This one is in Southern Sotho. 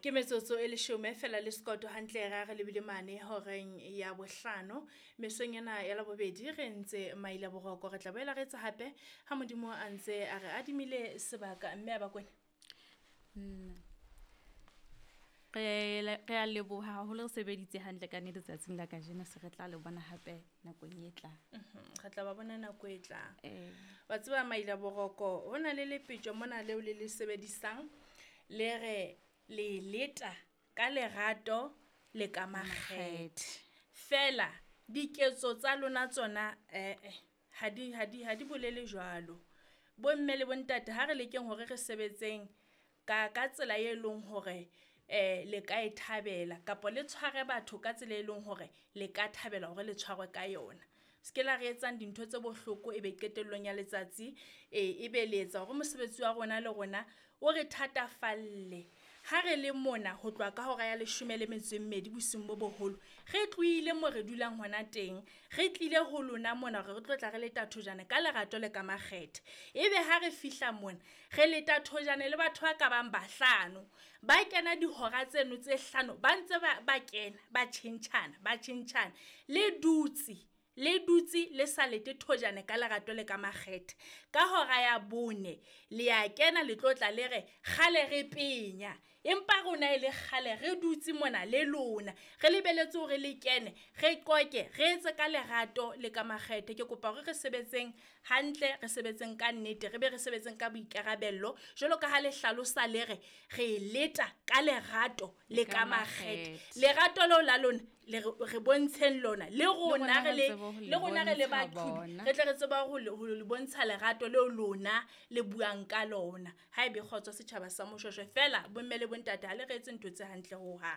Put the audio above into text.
Ke metsotso e leshome fela le sekoto hantle ra re lebile mane horeng ya bohlano. Mesong ena ya labobedi re ntse maila boroko, re tla boela re etsa hape ha Modimo a ntse a re adimile sebaka mme a Bakwena. Re a leboha haholo, re sebeditse hantle ka nnete tsatsing la kajeno, se re tla le bona hape nakong e tlang. Re tla ba bona nako e tlang. Wa tseba maila boroko, ho na le lepetjo mona leo le le sebedisang le re le leta ka lerato le ka makgethe. Fela diketso tsa lona tsona ha di ha di ha di bolele jwalo. Bomme le bontate ha re lekeng hore re sebetseng ka tsela e leng hore le ka e thabela kapa le tshware batho ka tsela e leng hore le ka thabela hore le tshwarwe ka yona. Se ke la re etsang dintho tse bohloko ebe qetellong ya letsatsi ebe le etsa hore mosebetsi wa rona le rona o re thatafalle. Ha re le mona ho tloha ka hora ya leshome le metso e mmedi bosiung bo boholo, re tlohile mo re dulang hona teng, re tlile ho lona mona hore re tlo tla re leta thojane ka lerato le ka makgethe. Ebe ha re fihla mona re leta thojane le batho ba ka bang bahlano, ba kena dihora tseno tse hlano ba ntse ba kena ba tjhentjhana ba tjhentjhana. Le dutse le dutse le sa lete thojane ka lerato le ka makgethe. Ka hora ya bone le ya kena le tlo tla le re kgale re penya, empa rona e le kgale re dutse mona le lona, re lebelletse hore le kene re qoqe re etse ka lerato le ka makgethe. Ke kopa hore re sebetseng hantle, re sebetseng ka nnete, re be re sebetseng ka boikarabello. Jwalo ka ha le hlalosa le re re leta ka lerato le ka makgethe. Lerato leo la lona le re bontsheng lona le rona re le le rona re le baqhobi re tle re tseba ho le bontsha lerato leo lona le buang ka lona. Ha ebe kgotso setjhaba sa Moshoeshoe fela bomme le bontate ha le re etse ntho tse hantle hohang.